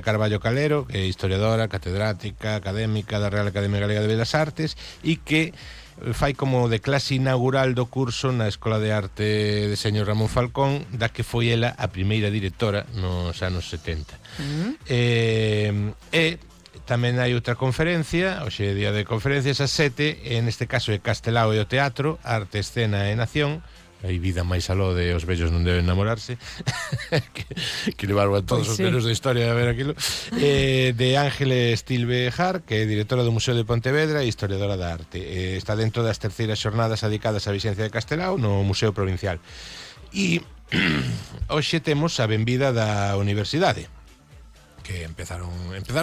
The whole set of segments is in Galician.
Carballo Calero, que é historiadora, catedrática, académica da Real Academia Galega de Belas Artes e que fai como de clase inaugural do curso na Escola de Arte de Señor Ramón Falcón, da que foi ela a primeira directora nos anos 70. Tamén hai outra conferencia, hoxe é día de conferencias ás 7, en este caso é Castelao e o Teatro, Arte, Escena e Nación. Hai vida máis aló de os vellos non deben namorarse que levaron a todos os vellos da historia a ver aquilo, de Ángeles Tilbejar, que é directora do Museo de Pontevedra e historiadora da arte. Está dentro das terceiras xornadas dedicadas á Vixencia de Castelao no Museo Provincial. E hoxe temos a benvida da Universidade, que empezaron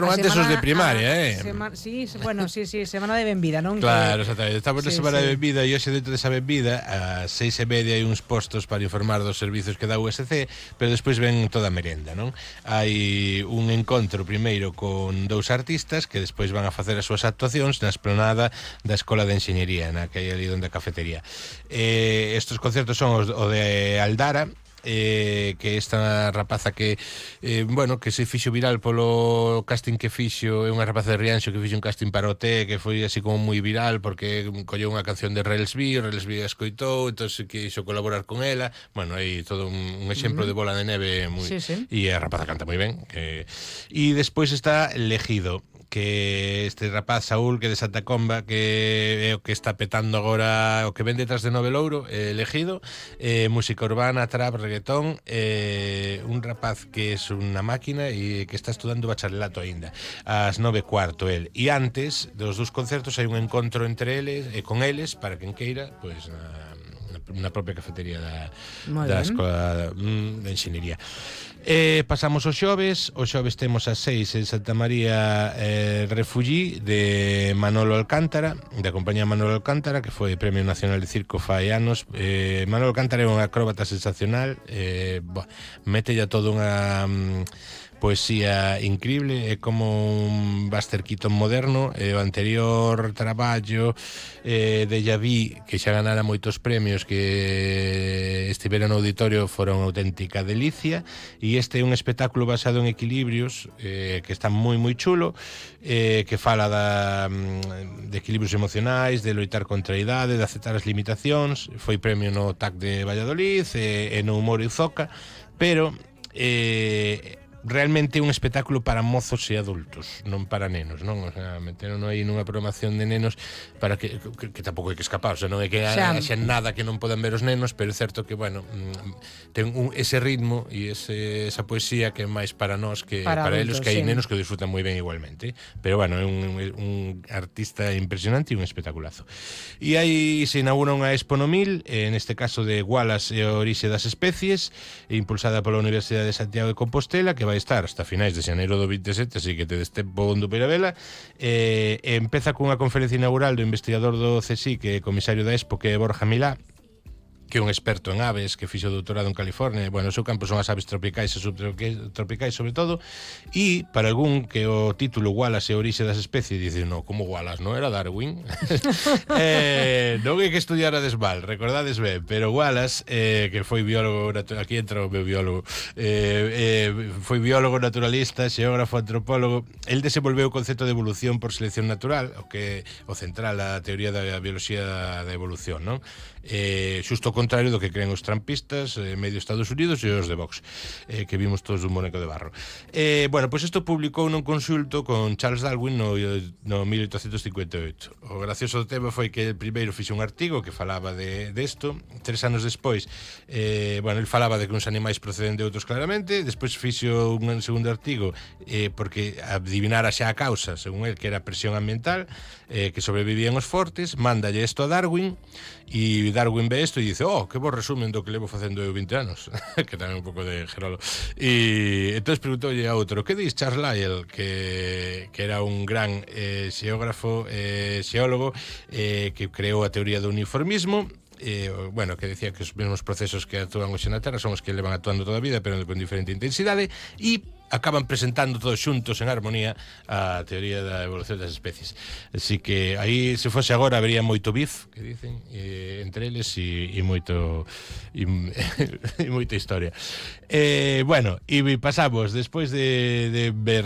antes os de primaria, sí, semana de benvida, non? Claro, exactamente. Estamos na semana de benvida e hoxe dentro desa benvida a 6:30 hai uns postos para informar dos servizos que dá o USC, pero despois ven toda a merenda, non? Hai un encontro primeiro con dous artistas que despois van a facer as súas actuacións na esplanada da Escola de Enxeñería, na que hai ali onde a cafetería. Estos concertos son o de Aldara, que esta rapaza que que se fixo viral polo casting que fixo, é unha rapaza de Rianxo que fixo un casting para o T, que foi así como moi viral porque colleu unha canción de Relsby a escoitou, entón quixo colaborar con ela. Bueno, hai todo un exemplo de bola de neve e a rapaza canta moi ben. E despois está Legido, que este rapaz Saúl, que de Santa Comba, que é o que está petando agora, o que ven detrás de Novelouro, Elegido, música urbana, trap, reggaetón, un rapaz que é unha máquina e que está estudando bacharelato aínda, ás 9:15 el. E antes dos dous concertos hai un encontro entre eles e con eles para quen queira, pois na propia cafetería da Escola de Enxeñería. Pasamos os xoves temos as 6 en Santa María, Refullí, de Manolo Alcántara, da compañía Manolo Alcántara, que foi Premio Nacional de Circo fai anos. Manolo Alcántara é un acróbata sensacional, mete ya toda unha poesía increíble, é como un Buster Keaton moderno. O anterior traballo de Yaví, que xa ganara moitos premios, que estivera no auditorio, fora unha auténtica delicia, e este é un espectáculo basado en equilibrios, que está moi moi chulo, que fala de equilibrios emocionais, de loitar contra a idade, de aceptar as limitacións. Foi premio no TAC de Valladolid e no Humor e Zoca, pero realmente é un espectáculo para mozos e adultos, non para nenos, non? O sea, meteron aí nunha programación de nenos para que tampouco hai que escapar, o sea, non é que haxa nada que non podan ver os nenos, pero é certo que, bueno, ten ese ritmo e esa poesía que é máis para nós que para eles, que hai nenos que o disfrutan moi ben igualmente, pero, bueno, é un artista impresionante e un espectaculazo. E aí se inaugura unha Expo no 1000, neste caso de Wallace e a orixe das especies, impulsada pola Universidade de Santiago de Compostela, que vai estar hasta finais de xaneiro do 27, así que te destempo onde para vela. Empeza cunha conferencia inaugural do investigador do CSIC, que é comisario da Expo, que é Borja Milá, que é un experto en aves, que fixo doutorado en California. Bueno, o seu campo son as aves tropicais e subtropicais sobre todo, e para algún que o título Wallace e a orixe das especies dice, no, como Wallace, non era Darwin? Non hai que estudiar a desval, recordades ben, pero Wallace, que foi biólogo, aquí entra o meu biólogo, foi biólogo naturalista, xeógrafo, antropólogo. El desenvolveu o concepto de evolución por selección natural, o que o central a teoría da bioloxía da evolución, non? Xusto o contrario do que creen os trampistas, medio Estados Unidos e os de Vox, que vimos todos un boneco de barro. Bueno, pois isto publicou nun consulto con Charles Darwin no 1858. O gracioso do tema foi que el primeiro fixo un artigo que falaba de isto. 3 anos despois, bueno, el falaba de que uns animais proceden de outros claramente. Despois fixo un segundo artigo porque adivinara xa a causa, según el, que era a presión ambiental, que sobrevivían os fortes. Mándalle isto a Darwin, e Darwin ve isto e dice, que bo resumen do que levo facendo eu 20 anos que tamén un pouco de Gerolo. E entón preguntoulle a outro, que dis Charles Lyell, que era un gran xeógrafo, xeólogo, que creou a teoría do uniformismo, bueno, que decía que os mesmos procesos que actúan hoxe na Terra son os que levan actuando toda a vida, pero con diferente intensidade, e acaban presentando todos xuntos en armonía a teoría da evolución das especies. Así que aí, se fose agora, habería moito bif, que dicen, entre eles, e moito e moita historia. Bueno, e pasamos, despois de ver